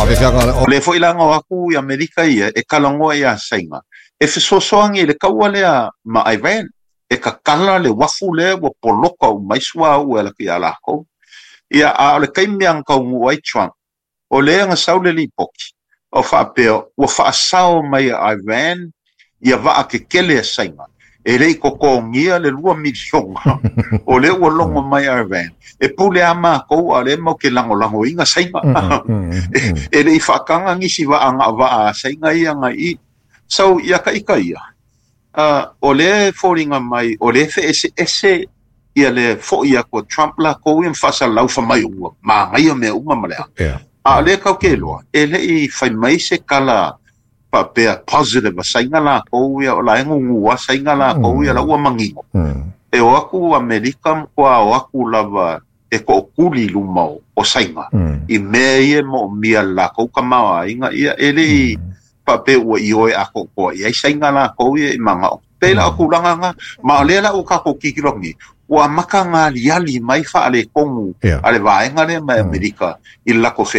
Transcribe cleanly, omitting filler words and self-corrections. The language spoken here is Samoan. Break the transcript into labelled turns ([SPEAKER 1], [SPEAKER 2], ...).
[SPEAKER 1] Faafeafeaga.
[SPEAKER 2] O lea foi la na o atu i Amerika ia e talanoa iā Saina e fesoasoani i le taua lea ma Iran, e tatala le uafu lea ua poloka uma ai suauu e alu atu ia lakou. Ia, a o le taimi lava na taunuu ai Trump, o lea na sau le lipoti o faapea ua faasao mai e Iran ia vaa tetele a Saina e le i totogia le $2 miliona, o lea ua logo mai Iran e pule a makou, a o lea matou te lagolagoina Saina. E le i faataga nisi vaa na o vaa a Saina ia na i i. So ia ka ita ia, o lea e foliga mai o lea e feeseese ia le fo'i atu a Trump lakou ia ma faasalalau fai mai ua manaia mea uma ma le a. A o lea tatou te iloa, e le i fai mai se tala faapea positive a Saina lakou ia, o la e gugua Saina lakou ia la ua manino. E o atu Amerika matua o atu lava e to'atuli i luma o Saina i mea ia e mo'omia e lakou tamaoaiga ia, e le i faapea ua ioe atoatoa i ai Saina lakou ia i mana'o. Pei la o tulaga na, ma o lea la ua tatou tilotilo atu nei, ua amata galiali mai faaletonu a le vaega lea mai Amerika i le latou.